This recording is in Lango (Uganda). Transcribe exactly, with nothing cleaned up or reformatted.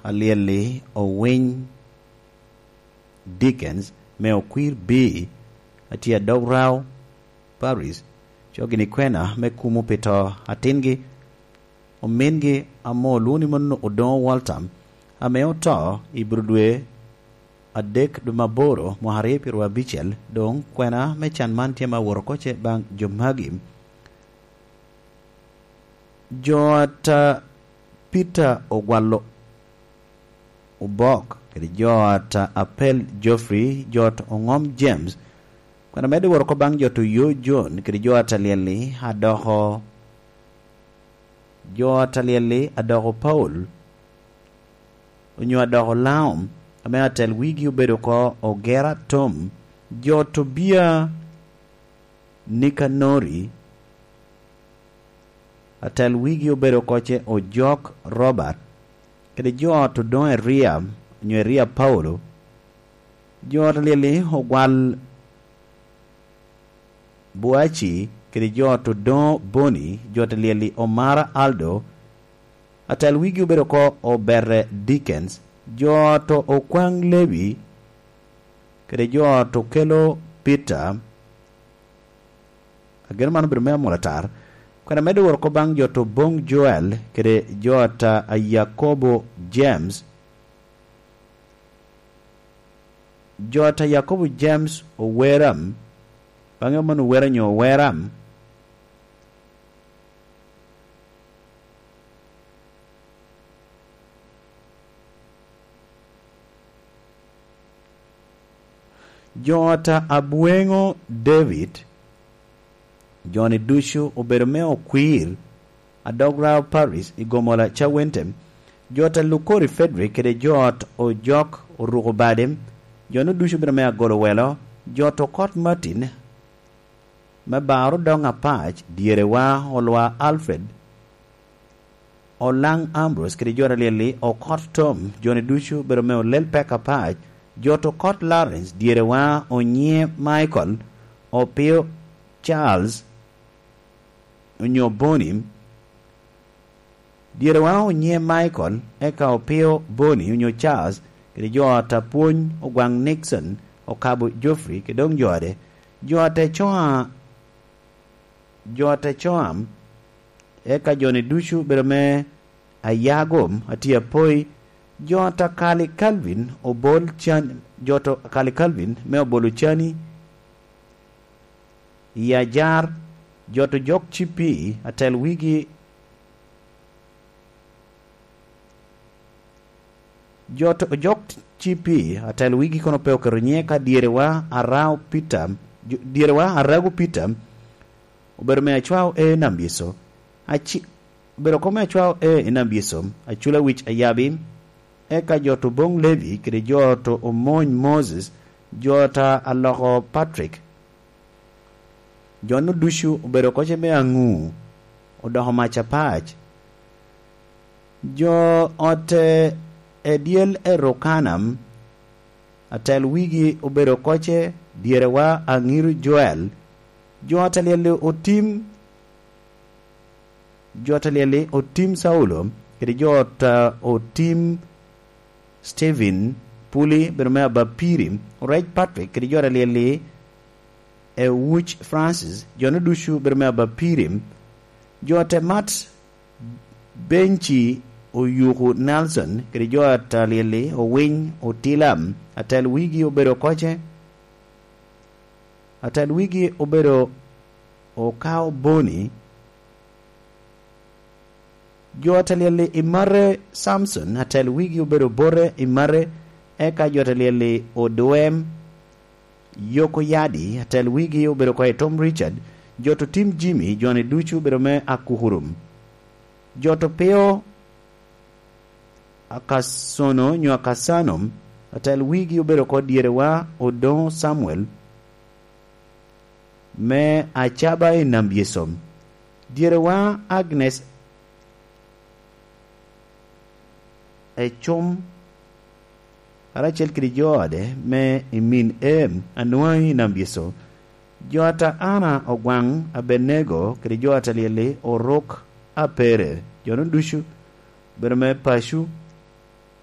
Alyel-li owiny Dickens me Okwir B, atye Adog Rao Parish, co gini kwena me kumo pi to atingi, omingi ame olwoŋo ni mano Odoŋo Walter, ame oto i bur dwe adek dwe me aboro mwaka aryo pyeraryo abicel. Doŋ kwena me can man tye ma awot oko ce baŋ jo magi. Jo ata Peter Ogwalo Obok kede jo ata Apel Geoffrey, jo ata Oŋom James, kwena medde wot oko baŋ jo ata Oyo John kede jo ata Lyelli adoko, jo ata Lyelli adoko Paul, onyo adoko Laom, ame atel wigi obedo oko Ogera Tom, jo ata Obia Nikanori, atel wigi obedo oko ce Ojok Robert, kede jo ata Odoŋo Eria, onyo Eria Paulo, jo ata Lyelli Ogwal Buaci, kede jo ata Odoŋo Boni, jo ata Lyelli Omara Aldo, atel wigi obedo oko Obere Dickens, jo ata Okwaŋ Lewi, kede jo ata Okelo Peter. Ageno man obedo me amol atar. Kwena medde wot oko baŋ jo ata Oboŋ Joel, kede jo ata Yakobo James, jo ata Yakobo James Oweram, baŋe mano Owera nyo Oweram. Jo ata Abweŋo David, jo-ni ducu obedo me Okwir, Adog Rao Parish i Gomola Cawente, jo ata Lukori Frederick kede jo ata Ojok Oruko Bade, jo-nu ducu obedo me Agolo Welo, jo ata Okot Martin, me Baro Doŋ Apac, dyerewa Olwa Alfred, Olaŋ Ambrose kede jo ata Lyelli Okot Tom, jo-ni ducu obedo me Olel Pek Apac, jo ata Okot Lawrence, dyerewa Onyiŋe Michael, Opio Charles, onyo Boni, dyerewa Onyiŋe Michael, eka Opio Boni, onyo Charles, kede jo ata Pwony Ogwaŋ Nixon, Okabo Geoffrey, kede doŋ jo ade, jo ata Ecoa, jo ata Ecoam, eka jo-ni ducu obedo me Ayago, atye Apoi, jo ata Kali Calvin, Obol Can-, jo ata Kali Calvin me Obolo Cani, i Ajar, jo ata Ojok Cipi, atel wigi, jo ata Ojok Cipi, atel wigi kono pe oketo nyiŋe ka dyerewa Arao Peter, jo-, dyerewa Arago Peter, obedo me Acwao A Nambyeco, aci-, obedo oko me Acwao A i Nambyeco, Acula Wic Ayabi, eka jo ata Oboŋ Levi, kede jo ata Omony Moses, jo ata Aloko Patrick. Jo-nu ducu obedo oko ce me Aŋu, odoko mac apac. Jo ata Edyel Erokanam, atel wigi obedo oko ce dyerewa Aŋiru Joel, jo ata Lyelli Otim, jo ata Lyelli Otim Saulo, kede jo ata Otim Stephen Puli, bedo me Abapiri, Orec Patrick, kede jo ata Lyelli Ewuc Francis, jo-nu ducu bedo me Abapiri, jo ata Mat Benci Oyuku Nelson, kede jo ata Lyelli Owiny Otilam, atel wigi obedo oko ce, atel wigi obedo Okao Boni, jo ata Lyelli Imare Samson, atel wigi obedo Bote Imare, eka jo ata Lyelli Odwem Yoko Yadi, atel wigi obedo oko Etom Richard, jo ata Otim Jimmy, jo-ni ducu obedo me Akukurum. Jo ata Opio Akasono nyo Akasano, atel wigi obedo oko dyerewa Odoŋo Samuel, me Acaba i Nambyeco. Dyerewa Agnes Ecum, karacel kede jo ode me i min Em Anwaŋi i Nambyeco. Jo ata Ana Ogwaŋ Abenego kede jo ata Lyelli Oruk Apere, jo-nu ducu bedo me paco.